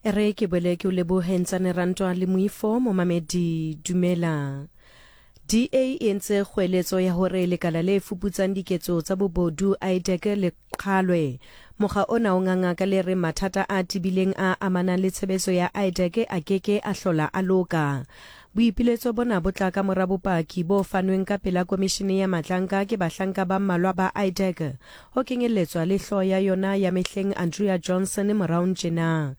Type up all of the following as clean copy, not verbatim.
E re ke boele ke o lebohe Ntsane Rantwa le Moifo momamedi dumela. DA e entse kgoeletso ya hore lekala le fuputsang diketso tsa bobodu IDAC le qhalwe. Mokga ona o nganga ka le reng mathata a tebileng a amanang le tshebetso ya IDAC a keke a hlola a loka. Boipiletso bona bo tla ka mora bopaki bo fanweng ka pela komishene ya matlanka ke bahlanka ba mmalwa ba IDAC ho kenyelletswa le hlooho ya yona ya mehleng Andrea Johnson moraong tjena.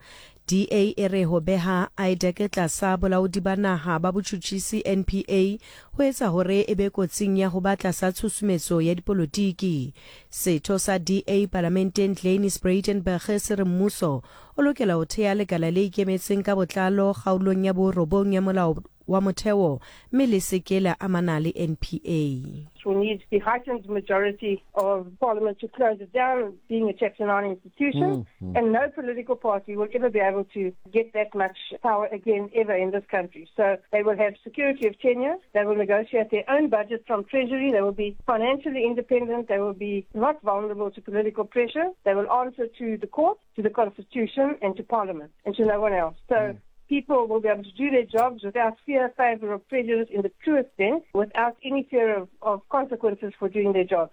DA e re ho beha IDAC tlasa bolaodi ba naha ba botjhutjhisi, NPA, ho etsa hore e be kotsing ya ho ba tlasa tshusumetso ya dipolotiki. Setho sa DA palamenteng Glynnis Breytenbach se re mmuso o lokela ho thea lekala le ikemetseng ka botlalo kgaolong ya borobong ya molao wa motheo mme le se ke la amana le NPA. We need the heightened majority of parliament to close it down, being a Chapter 9 institution, mm -hmm. and no political party will ever be able to get that much power again ever in this country. So they will have security of tenure, they will negotiate their own budget from Treasury, they will be financially independent, they will be not vulnerable to political pressure, they will answer to the court, to the constitution, and to parliament, and to no one else. So mm people will be able to do their jobs without fear, favor, or prejudice in the truest sense, without any fear of, of consequences for doing their jobs.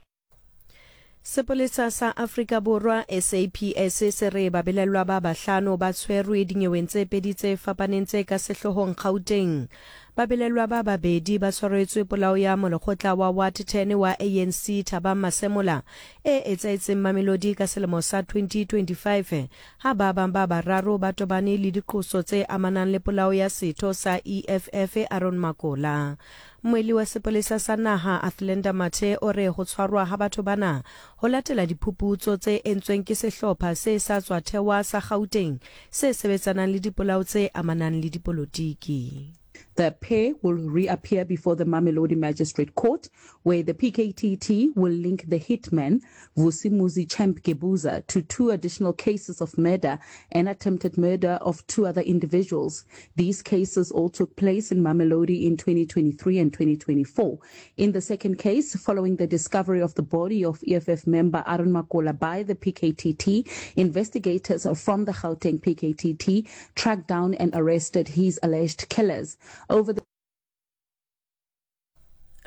Sepolesa sa Afrika Borwa, SAPS, se re babelaellwa ba bahlano ba tshwerwe dinyeweng tse pedi tse fapaneng tse ka sehloohong Gauteng. Babelaellwa ba babedi ba tshwaretswe polao ya molekgotla wa Ward 10 wa ANC Thabang Masemola e etsahetseng Mamelodi ka selemo sa 2025 ha ba bang ba bararo ba tobane le diqoso tse amanang le polao ya setho sa EFF Aaron Makola. Mmuelli wa sepolesa sa naha Athlenda Mathe o re ho tshwarwa ha batho bana ho latela diphuputso tse entsweng ke sehlopha se sa tswa thewa sa Gauteng se sebetsanang le dipolao tse amanang le dipolotiki. The pair will reappear before the Mamelodi Magistrate Court, where the PKTT will link the hitman, Vusimuzi Champ Gebuza, to two additional cases of murder and attempted murder of two other individuals. These cases all took place in Mamelodi in 2023 and 2024. In the second case, following the discovery of the body of EFF member Aaron Makola by the PKTT, investigators from the Gauteng PKTT tracked down and arrested his alleged killers. Over the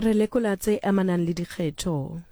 Re lekola tse amanang le dikgetho.